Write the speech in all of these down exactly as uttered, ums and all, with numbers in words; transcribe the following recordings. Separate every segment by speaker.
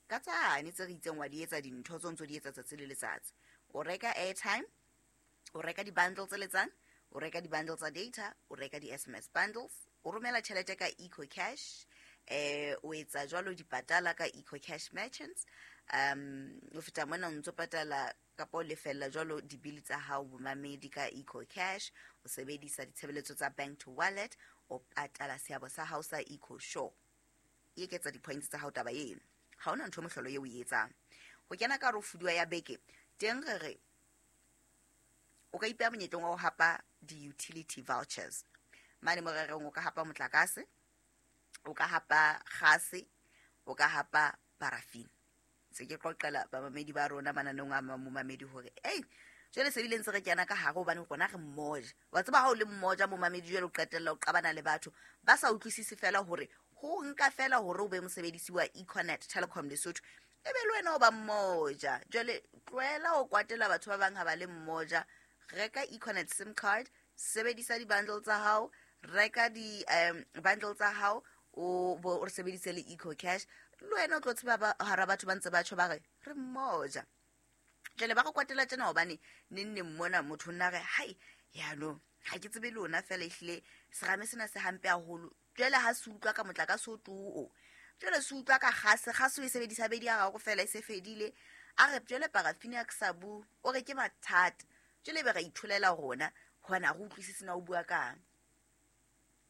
Speaker 1: Ka tsane tse re itseng wa di etsa dintho tse o ntso di etsa tsatsi le letsatsi. O reka airtime, o reka di-bundle tse letsang, o reka di-bundle tsa data, o reka di-S M S bundles, o romela tjhelete ka EcoCash, eh o etsa jwalo dipatala ka EcoCash merchants. um o feta mona o ntso patala kapa o lefella jwalo dibili tsa hao, momamedi, ka EcoCash, o sebedisa ditshebeletso tsa bank to wallet, o patala seabo sa hao sa EcoSure. E eketsa di-points tsa hao taba eno. Ha hona ntho e mohlolo eo o e etsang. Ho kena ka hare ho fuduwa ya beke teng, re re o ka ipeha monyetleng wa ho hapa di-utility vouchers mane mo re reng o ka hapa motlakase, o ka hapa gase, o ka hapa paraffin. Se ke qoqela bamamedi ba rona mananeong a momamedi hore ei, jwale se bile ntse re kena ka hare, hobane rona re mmoja. Wa tseba ha o le mmoja, momamedi, jwale o qetella o qabana le batho ba sa utlwisise fela hore ho nka fela hore o be mosebedisi wa Econet Telecom Lesotho, e be le wena o ba mmoja. Jwale tlohela ho kwatela batho ba bang ha ba le mmoja. Reka Econet SIM card, sebedisa di-bundle tsa hao, reka di-bundle tsa hao, o bo o sebedise le Eco Cash. Le wena o tlo tseba ba- hara batho ba ntse ba tjho ba re re mmoja. Jwale ba re kwatela tjena hobane neng neng mona motho o nna re hai yaanong ha ke tsebe lona fela, ehlile serame sena se hampe haholo. Jwale ha se utlwa ka motlakase o too, jwale se utlwa ka gase, gase o e sebedisa bedi ya gago fela e se fedile. A re jwale parafini ya ke sa bue, o re ke mathata. Jwale ebe ra itholela rona hobane ha re utlwisise na o bua kang.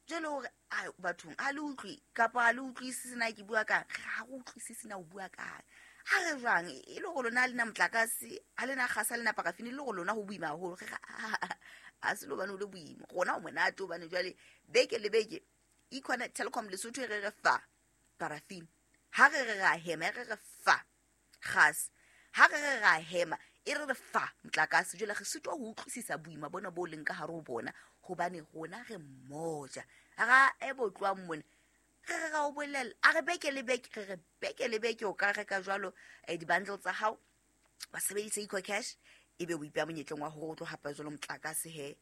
Speaker 1: Jwale hore a bathong ha le utlwe kapa ha le utlwisise na ke bua kang, ha re utlwisise na o bua kang. Ha re jwang e le gore lona ha lena motlakase, ha lena gase, ha lena parafini, le gore lona ho boima haholo. Re re ha se le hobane o le boima, rona o monate, hobane jwale beke le beke Econet Telecom Lesotho e re re fa parafini, ha re re ra hema e re re fa gas, ha re re ra hema e re re fa motlakase. Jwale re sitwa ho utlwisisa boima bona bo leng ka hare ho bona, hobane rona re mmoja ra e bo tlohang mona. Re re ra o bolella, a re beke le beke, re re beke le beke o ka reka jwalo eh, di-bundle tsa hao, wa sebedisa EcoCash, ebe o ipeha monyetleng wa hore o tlo hapa jwalo motlakase, he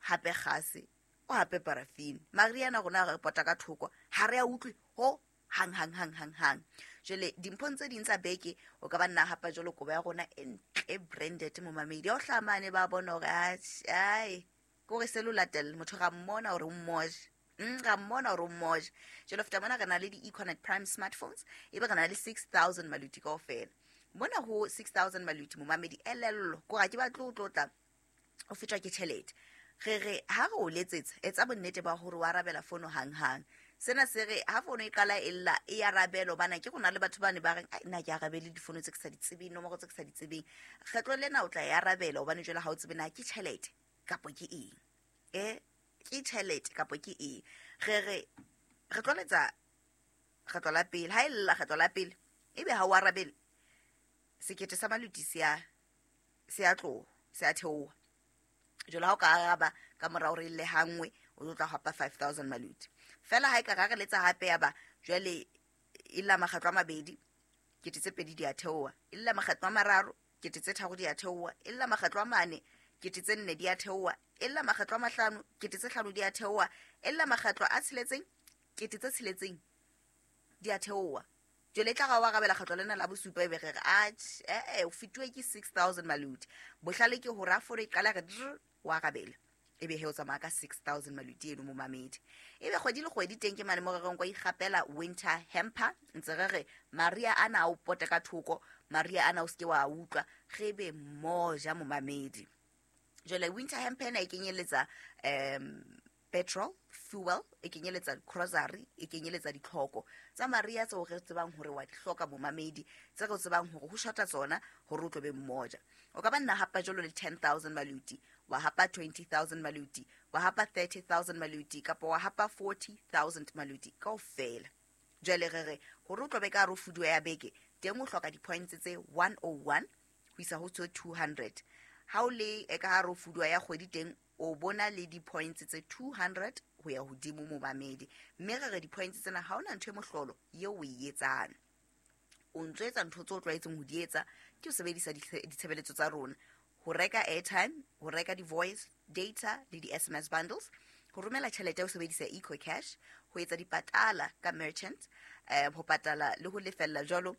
Speaker 1: hape gase, o hape parafini. Mariana rona re pota ka thoko, ha re a utlwe ho hang hang hang hang hang. Jwale dimphong tse ding tsa beke o ka ba nna hapa jwalo kobo ya rona e ntle, branded, momamedi. Ya o hlaha mane ba bona hore ai ke hore se lo latella motho, ra mmona hore o mmoja. Mm, ra mmona hore o mmoja. Jwale feta mona re na le di-Econet Prime smartphones, ebe re na le six thousand maluti kaofela. Mona ho six thousand maluti, momamedi, elello kore ha ke batle o tlotla o fetwa ke tjhelete. Re re ha re o letsetsa, etsa bonnete ba hore o arabela fono hang-hang. Sena se re ha fono e qala e lla, e arabele, hobane ke rona le batho bane ba reng ai nna ke arabele difono tse ke sa di tsebeng, nomoro tse ke sa di tsebeng. Kgetlo lena o tla e arabela, hobane jwale ha o tsebe na ke tjhelete kapo ke eng, e ke tjhelete kapo ke eng. Re re re tlo letsa kgetlo la pele, ha e lla kgetlo la pele ebe ha o arabele, sekete sa maluti se a se a tloha, se a theoha. Jwale ha o ka araba ka mora hore e lle hangwe, o tlo tla hapa five thousand maluti fela. Ha e ka ra re letsa hape, ya ba jwale e lla makgetlo a mabedi, kete tse pedi di a theoha. E lla makgetlo a mararo, kete tse tharo di a theoha. E lla makgetlo a mane, kete tse nne di a theoha. E lla makgetlo a mahlano, kete tse hlano di a theoha. E lla makgetlo a tsheletseng, kete tse tsheletseng di a theoha. Jwale e tla ra o arabela kgetlo lena la bosupa, ebe re re atjhe, eh o fetuwe ke six thousand maluti. Bohlale ke hore ha fono e qala re drr, o arabele, ebe he o tsamaya ka six thousand maluti eno, momamedi. Ebe kgwedi le kgwedi teng ke mane mo re reng kwa ikgapela winter hamper. Ntse re re maria ana a o pote ka thoko, maria ana o seke wa utlwa, re be mmoja, momamedi. Jwale winter hamper ena e kenyeletsa um petrol fuel, e kenyeletsa grocery, e kenyeletsa ditlhoko tsa maria tseo re tsebang hore wa di hloka, momamedi, tse re tsebang hore ho shota tsona hore o tlo be mmoja. O ka ba nna hapa jwalo le ten thousand maluti, wa hapa twenty thousand maluti, wa hapa thirty thousand maluti, kapa wa hapa forty thousand maluti kaofela. Jwale re re hore o tlo be ka hare ho fuduwa ya beke teng, o hloka di-points tse one oh one ho isa ho tse two hundred. Ha o le e ka hare ho fuduwa ya kgwedi teng, o bona le di-points tse two hundred ho ya hodimo, momamedi. Mme re re di-points tsena ha hona ntho e mohlolo eo o e etsang, o ntso etsa ntho tse o tlwaetseng ho di etsa, ke ho sebedisa ditshebeletso tsa rona, ho reka airtime, ho reka di-voice data le di-S M S bundles, ho romela tjhelete o sebedisa EcoCash, ho etsa dipatala ka merchant, eh, ho patala le ho lefella jwalo.